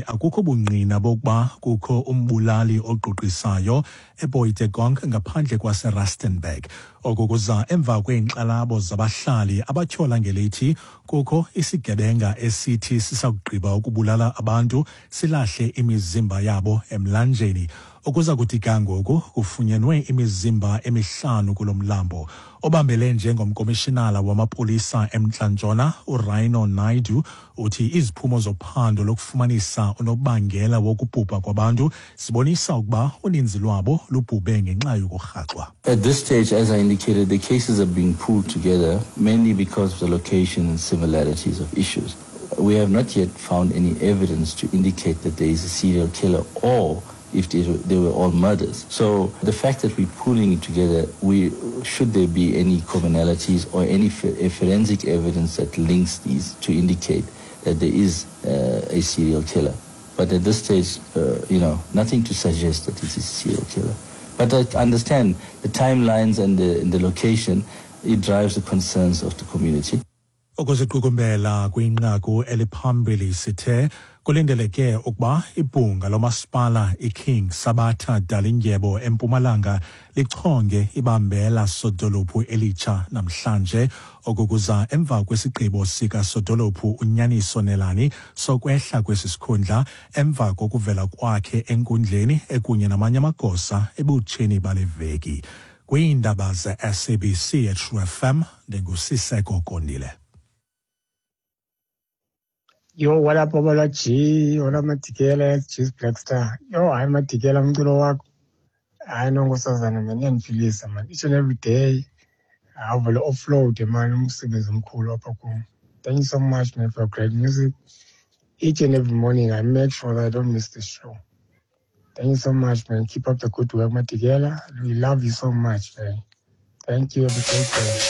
Akukho bungqina bokuba kukho umbulali ogqugqisayo eBoitekong ngaphandle kwaseRustenburg. Oku kuza emva kweenkxalabo zabahlali abatyhola ngelithi kukho isigebenga esithi sisakugqiba ukubulala abantu silahle imizimba yabo emlanjeni. Ukuza kuthi ga ngoku kufunyenwe imizimba emihlanu kulo mlambo. Obambele njengomkomishinala wamapolisa eMntla Ntshona uRaino Naidu uthi iziphumo zophando lokufumanisa unobangela wokubhubha kwabantu zibonisa ukuba uninzi lwabo lubhubhe ngenxa yokurhaxwa. At this stage, as I indicated, the cases are being pulled together mainly because of the location and similarities of issues. We have not yet found any evidence to indicate that there is a serial killer or if they were all murders. So the fact that we're pulling it together, we should there be any commonalities or any forensic evidence that links these to indicate that there is a serial killer. But at this stage, nothing to suggest that it is a serial killer. But I understand the timelines and the location, it drives the concerns of the community. Ukuziqukumbela kwinqaku eliphambili, sithe kulindeleke ukuba ibhunga lomasipala iKing Sabatha Dalindyebo eMpumalanga lichonge ibambela sodolophu elitsha namhlanje. Oku kuza emva kwesigqibo sikasodolophu uNyaniso Nelani sokwehla kwesi sikhundla emva kokuvela kwakhe enkundleni ekunye namanye amagosa ebutsheni bale veki. Kwiindaba ze-SABC eTrue FM, ndinguSiseko Kondile. Yo, what up, Babalwa G? What up, Madikela? G's Black Star. Yo, hayi Madikela, umculo wakho. Hayi no, nkosazana man, iyandiphilisa man. Each and every day. Awuvele offload man, umsebenzi omkhulu apha kum. Thank you so much, man, for great music. Each and every morning I make sure that I don't miss the show. Thank you so much, man. Keep up the good work, Madikela. We love you so much, man. Thank you. Have a great day.